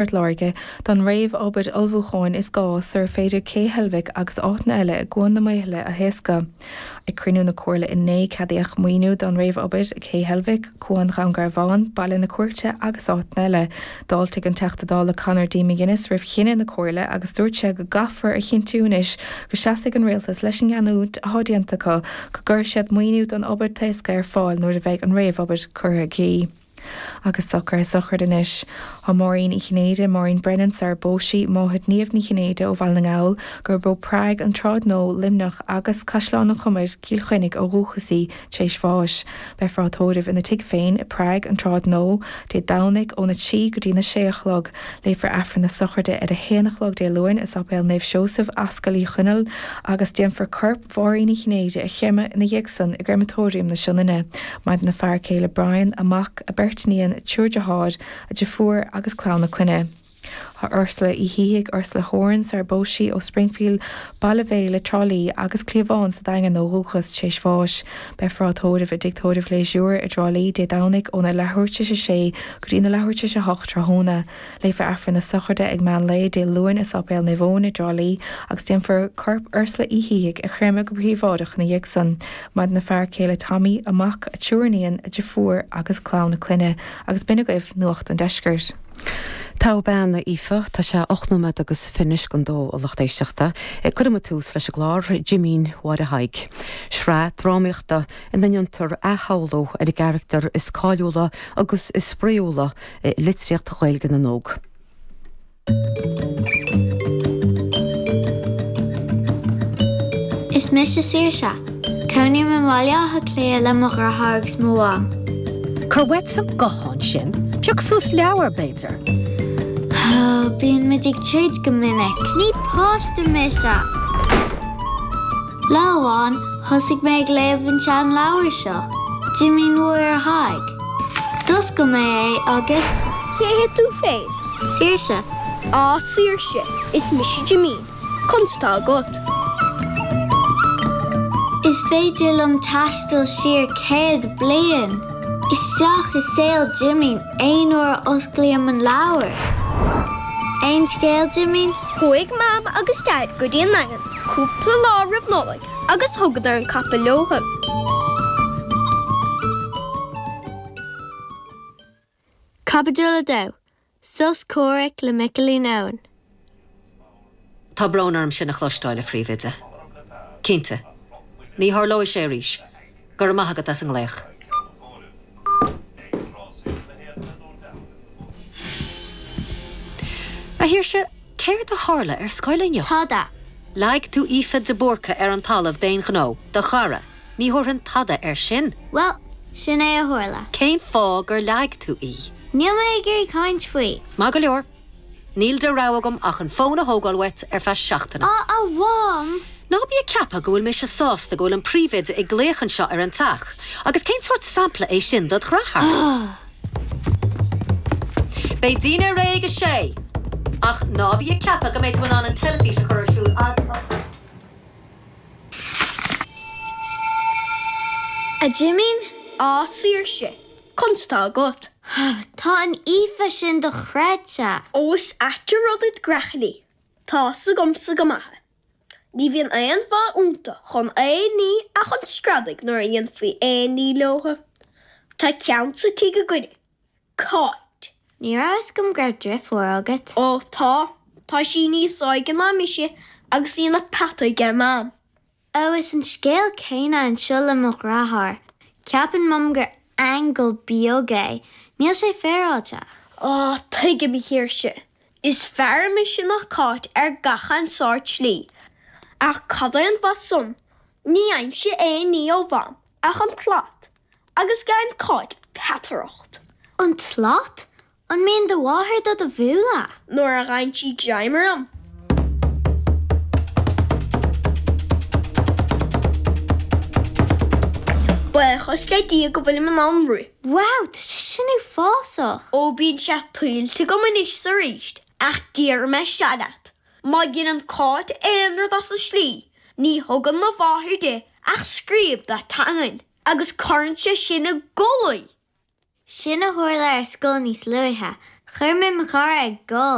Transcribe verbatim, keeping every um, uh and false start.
Phort Láirge don réamhobair ullmhúcháin is gá sar féidir Cé Heilbhic agus áiteanna eile i gCuan na Maothaile a thaoscadh. Ag cruinniú na Comhairle inné ceadaíodh maoiniú don réamhobair ag Cé Heilbhic, Cuan Dhún Garbhán, Baile na Cúirte agus áiteanna eile. D'fháiltigh an Teachta Dála Conor D. McGuinness roimh chinneadh na Comhairle agus dúirt sé go gcaithfear a chinntiú anois go seasfaidh an rialtas leis an ngeallúint atá déanta acu go gcuirfidh siad maoiniú don obair taosctha ar fáil nuair a bheidh an réamhobair curtha i gcrích. Agus socruithe sochraide anois. Tá Máirín Uí Chinnéide, Máirín Brennan sar bpós sí, máthair Niamh Ní Chinnéide ó Bhaile na nGall, gurb ó Prág, an tSráid Nua, Luimneach agus Caisleán an Chomair, Cill Chainnigh ó dhúchas í, tar éis bháis. Beifear á tórramh ina tigh féin i Prág, an tSráid Nua, Dé Domhnaigh óna trí go dtí na sé a chlog. Léifear Aifreann na sochraide ar a haon a chlog Dé Luain i Sáipéal Naomh Seosamh, Ascaill Uí Chonaill, agus déanfar corp Mháirín Uí Chinnéide a chreimeadh ina dhiaidh san i gCreamatóiriam na Sionainne. Maireann a fear céile Brian, a mac, a beirt iníon, triúr deartháir, a deirfiúr agus clann a clainne. Tá Ursula Uí Shíthigh, Ursula Horan, sar bpós sí ó Springfield, Baile Bhéile, Trá Lí agus Cliabhán sa Daingean ó dhúchas, tar éis bháis. Beifear á tórramh i dTigh Tórraimh Phléisiúir i dTrá Lí Dé Domhnaigh óna leathuair tar éis a sé go dtí na leathuair tar éis a hocht tráthnóna. Léifear Aifreann na sochraide ag meán lae Dé Luain i Sáipéal Naomh Eoin i dTrá Lí agus déanfar corp Ursula Uí Shíthigh a chreimeadh go príobháideach ina dhiaidh san. Maireann a fear céile Tommy, a mac, a triúr iníon, a deirfiúr agus clann a clainne. Agus b'in agaibh Nuacht an Deiscirt. Togha bean, a Aoife, tá sé ocht nóiméad agus fiche don dó a lucht éisteachta. Cuirfidh muid tús leis an gclár Jimín Mháire Thaidhg. Sraith drámaíochta ina ndéantar athshamhlú ar an gcarachtar is cáiliúla agus is spraíúla i litríocht Ghaeilge na nÓg. Is mise Saoirse. Cónaím i mBaile Átha Cliath le mo dheartháir agus mo mham. Cuir uait an guthán sin, pioc suas leabhar, b'fhéidir. Bíonn muid ag troid go minic. Ní páiste mise! Lá amháin, thosaigh mé ag léamh an seanleabhar seo, Jimín Mháire Thaidhg. D'oscail mé é agus. Cé hé tú féin? Saoirse. Á, Saoirse, is mise Jimín. Conas tá agat? Is féidir liom taisteal siar céad bliain! Isteach i saol Jimín aon uair a osclaím an leabhar. Aon scéal, Jimín? Chuaigh Mam agus Daid go dtí an Daingean cúpla lá roimh Nollaig agus thugadar an capall leothu. Caibidil a dó, Sos Comhraic le Michaelín Eoin. Tá brón orm sin a chloisteáil, a Phríomhoide. Cinnte. Ní tharlóidh sé arís. Go raibh maith agat as an nglaoch. A Shaoirse, céard a tharla ar scoil inniu? Tada. Leag tú Aoife de Búrca ar an talamh d'aon ghnó, do chara. Ní thabharfainn tada air sin. Bhuel, sin é a tharla. Cén fáth gur leag tú í? Níl mé ag iarraidh caint faoi. Maith go leor. Níl de rogha agam ach an fón a thógáil uait ar feadh seachtaine. Á, a Mham! Ná bí ag ceapadh go bhfuil mise sásta go bhfuil an príomhoide ag glaoch anseo ar an teach. Agus cén sórt sampla é sin dod dheartháir? Beidh dinnéar réidh ag a sé! Ach ná bí ag ceapadh go mbeidh tú in ann an teilifís a chur ar siúl fhad A Jimín? Á, Saoirse, conas tá agat? Tá an Aoife sin dochreidte! Ó is ait an rud iad greachailí. Tá's agamsa go maith é. Ní bhíonn aon mhaith iontu chun aon ní ach chun screadaigh nuair a dhéanfaí aon ní leothu. Tá ceann sa tigh againne. Cáit. Ní raibh fhios agam go raibh driofúr agat. Ó tá. Tá sí níos óige ná mise agus í ina peata aige Mam. Ó is an scéal céanna anseo le mo dheartháir. Ceapann Mam gur aingeal beag é. Níl sé féaráilte. Á, tuigim, a Shaoirse. Is fearr mise ná Cáit ar gach aon sórt slí. Ach cad é an mhaith san? Ní fhaighimse aon ní ó Mham ach an tslat, agus gheibheann Cáit peataireacht. An tslat? An mbíonn do mháthair do do bhualadh? Nuair a gheibheann sí greim orm. Buíochas le Dia go bhfuilim in ann rith. Wow, tá sé sin uafásach! Ó bíonn sé tuillte agam anois 's arís, ach déarfaidh mé seo leat, má dheineann Cáit aon rud as an slí, ní thugann mo mháthair di ach scríob dá teangain, agus cuireann sé sin i gcodladh í! Sin a tharla ar scoil níos luaithe. Chuir mé mo chara ag gol.